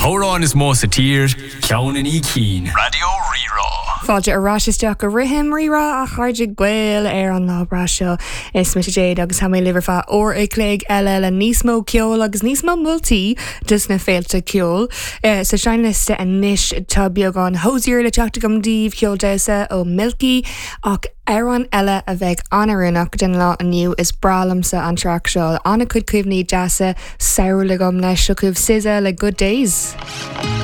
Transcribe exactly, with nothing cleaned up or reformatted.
hamhráin is mó sa tír, ceann i ndiaidh cinn. Raidió Rí-Rá. Fáilte ar ais isteach go Rithim Rí-Rá a chairde Gael ar an lá breá seo is mise Jade agus tá mé libh ar feadh uair a chloig eile le níos mó ceoil agus níos mó moltaí dos na féilte ceoil. Uh, sa seinnliosta anois tá beagán Hozier le teacht agam daoibh ceol damhsa ó Milky ach amhrán eile a bheidh an-oiriúnach den lá inniu is breá liomsa an traic seo an-chuid cuimhní deasa samhraidh agam leis seo chugaibh SZA le Good Days.